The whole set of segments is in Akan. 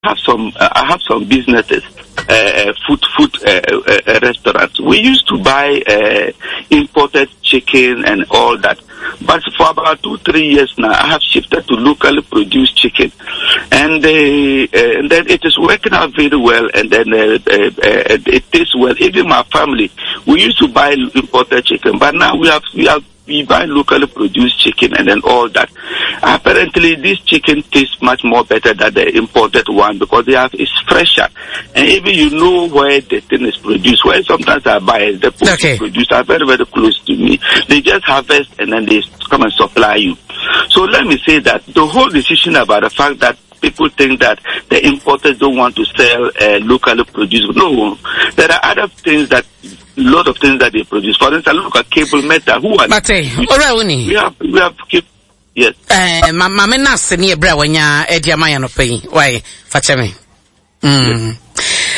Have some I have some businesses, food food restaurants. We used to buy imported chicken and all that, but for about two three years now, I have shifted to locally produced chicken, and, and then it is working out very well. And then it tastes well. Even my family, we used to buy imported chicken, but now we have we have we buy locally produced chicken and then all that. Apparently, this chicken tastes much more better than the imported one because they have it's fresher, and even you know where the thing is produced. Where sometimes I buy it, the okay. produced are very very close to me. They just harvest and then they come and supply you. So let me say that the whole decision about the fact that people think that the importers don't want to sell uh, locally produced. No, there are other things that lot of things that they produce. For instance, look at cable metal. Who are Mate, ora We have we have yes. Eh, ma ma me na se ne ebra wanya e di ama ya no pe Why? Fache me. Mm.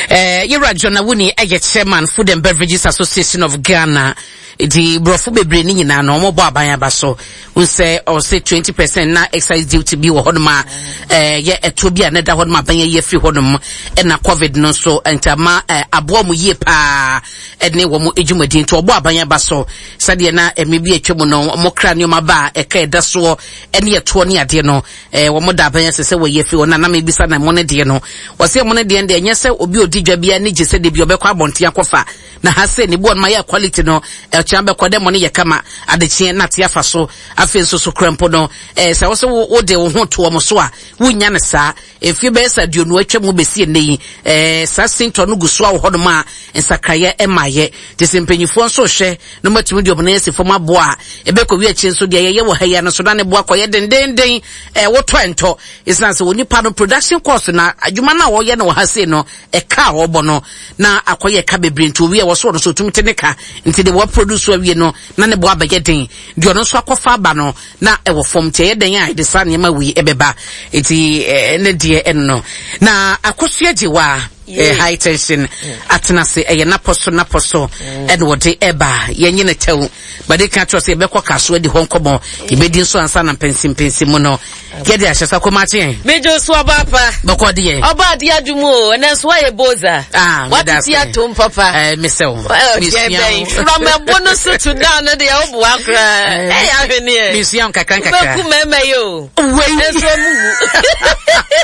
Eh, yɛwura John Awuni ɛyɛ chairman Food and Beverages Association of Ghana. Nti borɔfo bebree ne nyinaa no wɔbɔ aban aba so. N sɛ ɔsɛ 20 percent na excise duty bi wɔ hɔnom a ɛyɛ ɛtoɔ bi a na ɛda hɔnom aban ayi afiri hɔnom ɛna covid no nso nti ama aboa wɔn yie paa ɛne wɔn dwumadie nti ɔbɔ aban aba so sɛdeɛ na ɛmɛ bi atwa mu no wɔn kra nneɛma ba a ɛka ɛda soɔ ɛne ɛtoɔ ne adeɛ no ɛɛ wɔn da aban ase sɛ wɔyi afiri hɔ na nam ebisa na ɛmo ne deɛ no wɔsɛ ɛmo ne deɛ deɛ ɛnyɛ sɛ obi odi dwa bi ani gye sɛ debi ɔbɛkɔ abɔnten akɔfa na ha sɛ ne boɔ no ma yɛ quality no ɛkyɛn bɛkɔ dɛ mo ne yɛ kama adekyeɛ na ate afa so afei nso so kura mpo no ɛɛ sɛ wɔsɛ wo wo de wo ho to wɔn so a wonya no saa mfie bɛyɛ sɛ aduonu atwa mu bɛsi ɛnɛ yi ɛɛ saa sintɔ no gu so a wɔ hɔnom a nsakraeɛ ɛmaayɛ te sɛ mpanyinfoɔ nso hwɛ na wɔatumi de wɔn nan asi fam aboa a ɛbɛkɔ wi akyi nso deɛ yɛyɛ wɔ ha yi ano so na ne boa kɔyɛ dendenden ɛɛ wotɔ ɛntɔ ɛsiane sɛ onipa no production cost na adwuma no a wɔyɛ no wɔ ha sei no ɛka a wɔbɔ no na akɔyɛ ɛka bebree nti owie a wɔso ɔno so otumi te ne ka nti de wɔproduce awie no na ne bo abɛyɛ den deɛ ɔno nso akɔfa aba no na ɛwɔ fam nti ɛyɛ den a ɛde saa nneɛma wei ɛbɛba nti ɛne deɛ ɛno no na akosua gye wa eh, high tension atena ase ɛyɛ napɔ so napɔ so ɛna wɔde ɛba yɛnye ne tɛw bade ka kyerɛ sɛ yɛbɛkɔ kaso adi hɔ nkɔmmɔ yɛbɛdi nso ansa na mpɛnsimpɛnsi mu no yɛde ahyɛ sa kɔma akye Mejo so ɔba pa. Bɔkɔ deɛ. Ɔba adeɛ adum o, ɛnɛ nso wayɛ boza. Ah, meda ase. Watete atom papa. Eh, mesɛ wo. Mesua wo. From ɛbo no so to down no deɛ woboa koraa. Ɛyɛ ahweneɛ. Mesua wo nkakra nkakra. Wobɛku mmarima yi o. Wei. Nso ɔmo wu.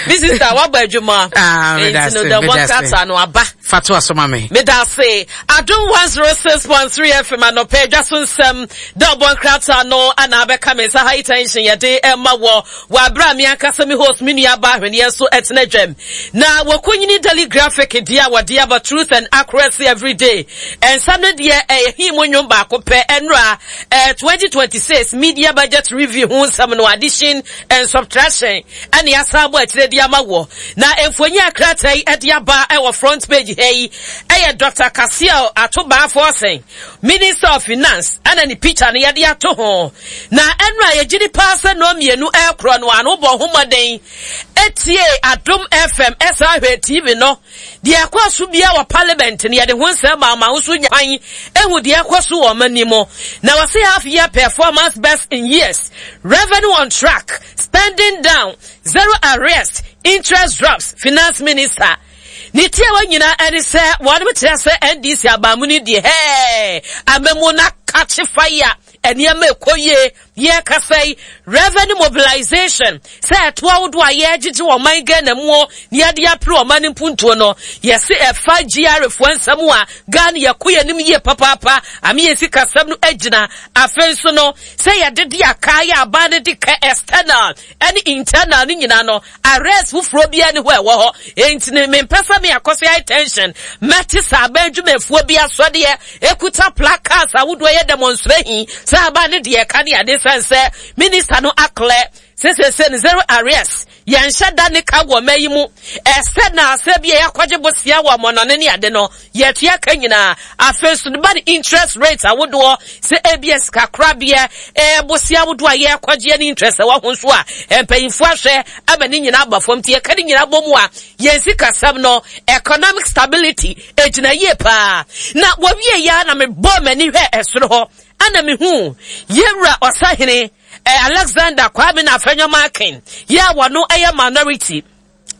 Me sister wabɔ adwuma. Ah, meda ase. Nti no dɛbɔ nkrataa no aba. Fa to aso ma me. Meda ase. Adom 106.3 FM anɔpɛ adwa so nsɛm. Dɛ ɔbɔ nkrataa no ana abɛka me nsa high tension yɛde ɛma wɔ wɔ abere a me ankasa me host me nua ba ahweneɛ nso ɛtena dwam. Na wɔkɔnyini Daily Graphic deɛ a wɔde aba Truth and Accuracy Everyday. Ɛnsa no deɛ ɛyɛ he mu nnwom baako pɛ ɛnora eh, 2026 Media Budget Review ho nsɛm no addition and subtraction ɛne asan abɔ akyire de ama wɔ. Na mfonyin a krataa yi de aba wɔ front page ha yi yɛ Dr. Cassiel Ato Baah Forson, Minister of Finance, ɛna ne picture no yɛde ato ho. Na ɛno a yɛgye di paa sɛ nnɔɔ mmienu ɛrekorɔ no ano bɔ ho mmɔden etie Adom FM ɛsan hwɛ TV no. Deɛ ɛkɔ so biara wɔ parliament no yɛde ho nsɛm ma ama nso nya kwan ehu deɛ ɛkɔ so wɔ ɔman mu. Na wɔse half year performance best in years, revenue on track, spending down, Zero arrest, interest drops, Finance Minister. Ne tiawa nyinaa ɛne sɛ wɔnom kyerɛ sɛ NDC abamu no deɛ hɛɛ amamu no akakye fire nneɛma ɛkɔ yie yɛkasa yi revenue mobilization sɛ ɛto ahodoɔ a yɛgyegye wɔ ɔman Ghana mu o na yɛde apere ɔman no mpuntuo no yɛse ɛfa GRA foɔ nsɛm a Ghana yɛkɔ yɛn anim yie papaapa ame yɛn sikasɛm no agyina afei nso no sɛ yɛde de aka yɛ aban no de ka external ɛne internal no nyinaa no arrest foforɔ biara ni hɔ ɛwɔ hɔ enti no mempɛ sɛ me akɔso high tension mɛte sɛ aban dwumafuo bi asɔdeɛ ekuta placards ahodoɔ yɛ demonstration sɛ aban no deɛ ɛka ne ade sɛn sɛ minister no aklɛ sesese no zero arrest yɛnhyɛ da ne ka wɔ mma yi mu ɛsɛ na asɛ bi a yɛakɔgye bosea wɔ amɔnɔne ne ade no Yɛtua ka nyinaa. Afei nso no ba ne interest rate ahodoɔ sɛ ebia sika korabea ɛɛ bosea ahodoɔ a yɛrekɔgyeɛ ne interest ɛwɔ ho nso a mpanyinfoɔ ahwɛ ama ne nyinaa aba fam nti yɛka ne nyinaa bɔ mu a yɛn sikasɛm no economic stability egyina yie paa. Na wɔwie yɛ na mebɔɔ m'ani hwɛ ɛsoro hɔ ana mehu yɛwura ɔsahene Alexander Kwame na Afenyo Markin yɛ a wɔno ɛyɛ minority.